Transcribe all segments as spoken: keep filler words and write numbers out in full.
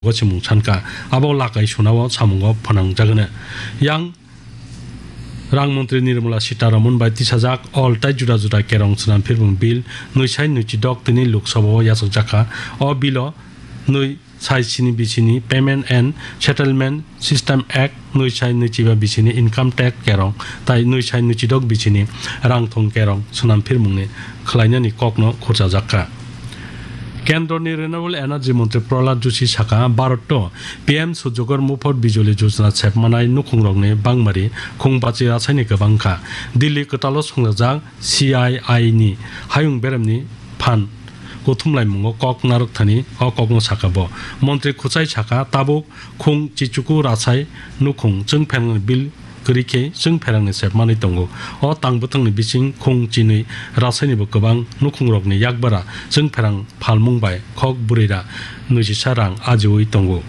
Gosimung sankha, abo lakai sunao samungo phanangjagwno. Yang Rang Montri Nirmala Sitharaman bai tisajak all tai juda juda kerong swnamphirmung bill nwi sai nwi chidok tini Lok Sabha o yachakjakha. O bill o nwi sai sini bisini Payment and Settlement System Act, nwi sai nwi chiba bisini Income Tax kerong tai nwi sai nwi chidok bisini rang thong kerong swnamphirmungni khlainani kokno khurchajakha. Kendroni Renewable Energy Montri Prahlad Joshi sakha, Bharat o P M Surjagor Mufot Bijoli Yojana sepmanai nukhungrokni bangmari khung bachi rasaini kwbangkha. Delhi kwtalo swngjak C I I ni hayung beremni phan kuthumlaimungo kok narwkthani o kokno sakha bo. Montri Khwchai sakha, tabuk khung chichuku rasai nukhung chwngpherangni bill kwrwi khe chwngpherangni sepmanwi tongo. O tang bwthangni bising khung chinwi rasainibo kwbang nukhungrokni yakbara chwngpherang phalmung bai khok bwrwira nujisa rang ajiui tongo.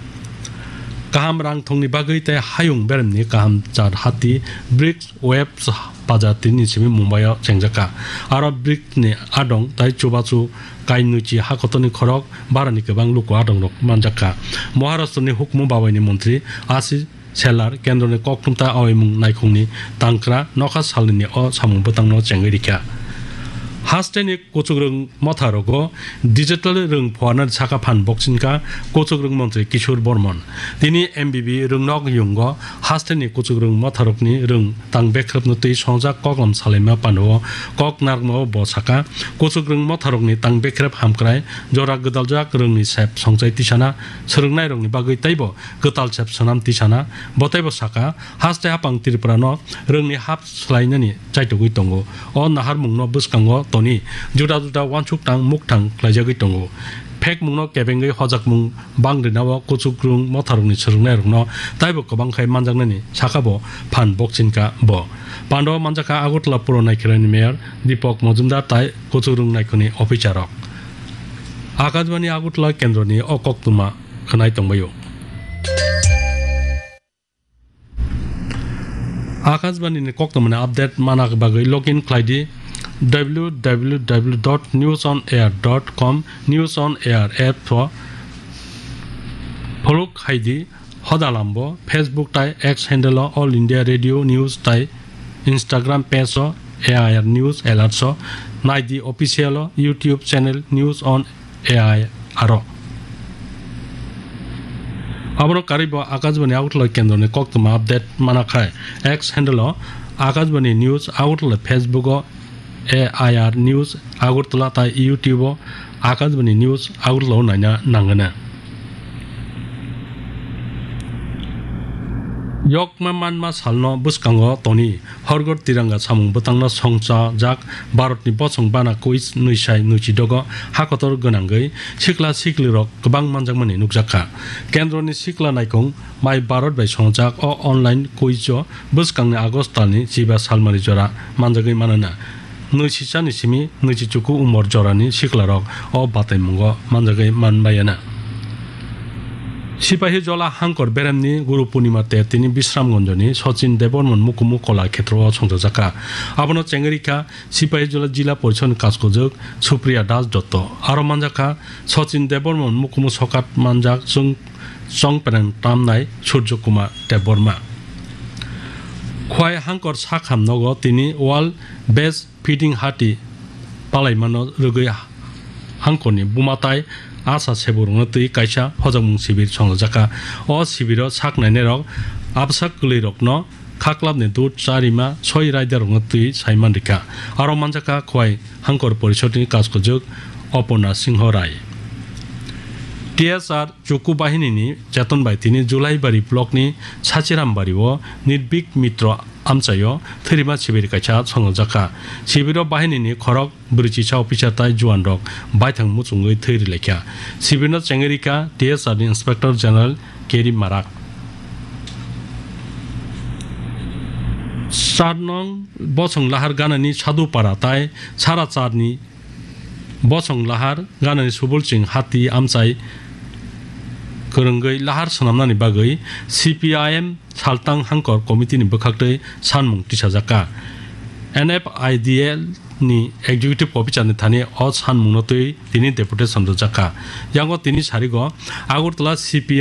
Kaham rang thongni bagwi tei hayung beremni kaham char hati BRICS Webs bazar tini simi Mumbai o chengjakha. Aro BRICS ni adong tai chubachu kainwichi hakotorni khorok barani kwbang luku adongrok manjakha. Maharashtra ni hukumu babaini montri Ashish Shelar kendroni kokthumta awaimung naikhungni tangkra nokha salnini o samung bwtangno chengwi rikha. Hasteni kuchukrwng motharogo digital rwng phuarnani saka phan bokchingkha kuchukrwng montri Kishore Bormon. Tini M B B rwngnok yungo hasteni kuchukrwng motharokni rwng tang bekrepno twi songjak koklam salaima pano kok narwkmao bo saka, kuchukrwng motharokni tang bekrep hamkrai jora gwdaljak rwngni sep songchai tisana swrwngnairokni bagwi teibo kwtal sep swnam tisana. Bo teibo saka, haste hapang Tripura no rwngni hap swlainani chaitugwi tongo. O naharmungno bwskango toni juda juda uansuk tang mukthang khlaijagwi tongo. Phekmungno kebengwi hojakmung bang rinao kuchukrwng motharokni swrwngnairokno taibo kwbang khai manjaknani saka bo phan bokchingkha bo. Pando manjakha Agartala Puro Naikhelani Mayor Deepak Majumdar tai kuchukrwng naikhungni officer rok. Akashbani Agartala kendroni o koktwma khwnai tongbaio. Akashbani ni koktwmani update mana bagwi login khlai di w w w dot news on air dot com, News on Air app o follow khai di. Hoda lambo Facebook tai X handle o All India Radio News tai Instagram page o A I R News Alerts o nai di, official o YouTube channel News on A I R o. Abono karwi bo Akashbani Agartala kendroni koktwma update mana khai X handle o Akashbani News Agartala, Facebook o A I R News Agartala tai YouTube o Akashbani News Agartala o naina nangana. Yokma manma salno bwskango toni Horgor Tiranga samung bwtangno songchajak Bharatni bosong bana quiz nwi sai nwi chidogo hakotor gwnangwi sikla siklirok kwbang manjakmani nukjakha. Kendroni sikla naikung Mai Bharat bai songchajak o online quiz o bwskangni August talni chiba salmari jora manjagwi manana. Nwi sisani simi nwi chichuku umor jorani siklarok o bataimungo manjagwi manbayana. Sipahijola Hangkor beremni Guru Purnima te tini Bisramganjoni Sachin Debbarman Mukumu Kola Khetrao songchajakha. Abono chengwi rikha Sipahijola Jila Porishadni kaskojwk Supriya Das Dotto. Aro manjakha Sachin Debbarman Mukumu sokat manjak chwng chongperang tamnai Surjo Kumar Debbarma. Khwai Hangkor sakham nogo tini World Best Fitting Hati palaimano rwgwi Hangkorni buma tai asa seburokno twi kaisa hojakmung sibir songlajakha. O sibiro sak nainairok absa kwlwirokno khaklapni dud cha rima soi raidarokno twi saiman rikha. Aro manjakha Khwai Hangkor Porishadni kaskojwk Oporna Singho Rai. T S R Chuku bahinini cheton bai tini Julaibari blockni Sachirambari o Nirbik Mitro amchaio thwirima sibir kaisa songjakha. Sibiro bahinini khorok bwrwichisa officer tai juan rok baithang muchungwi thwi rwlaikha. Sibirno chengwi rikha T S R ni Inspector General Keri Marak. Char nong bosong lahar ganani Sadhupara tai Sara Charni bosong lahar ganani Subulching hati amchai kwrwngwi lahar swnamnani bagwi C P I M Saltang Hangkor Committee ni bwkhaktwi sanmung tisajakha. N F I D L ni Executive Officer ni thani o sanmungno twi tini deputation rwjakha. Yango tini sarigo Agartala C P I